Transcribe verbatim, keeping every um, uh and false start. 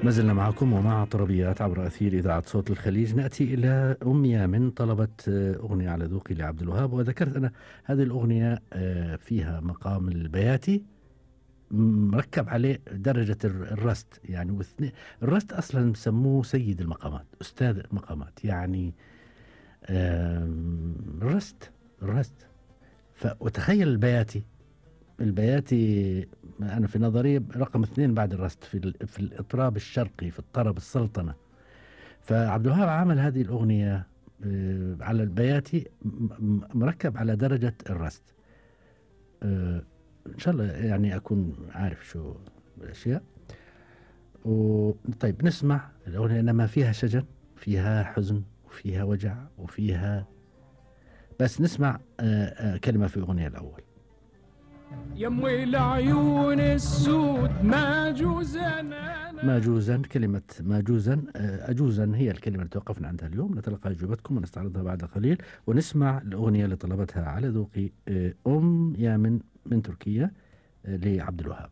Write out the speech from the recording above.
ما زلنا معكم ومع طربيات عبر أثير إذاعة صوت الخليج. نأتي إلى أم يامن طلبت أغنية على ذوقي لعبد الوهاب، وذكرت أنا هذه الأغنية فيها مقام البياتي مركب عليه درجة الرست، يعني واثنين الرست أصلا سموه سيد المقامات، أستاذ المقامات، يعني الرست الرست وتخيل البياتي البياتي أنا في نظري رقم اثنين بعد الرست في في الإطراب الشرقي، في الطرب السلطنة. فعبد الوهاب عمل هذه الأغنية على البياتي مركب على درجة الرست. إن شاء الله يعني أكون عارف شو الأشياء. طيب نسمع الأغنية، إنما فيها شجن، فيها حزن، وفيها وجع، وفيها، بس نسمع كلمة في أغنية الأول. يموي العيون السود ماجوزا ماجوزا، كلمة ماجوزا أجوزا هي الكلمة اللي توقفنا عندها اليوم. نتلقى أجوبتكم ونستعرضها بعد قليل، ونسمع الأغنية اللي طلبتها على ذوقي أم يامن من تركيا لعبد الوهاب.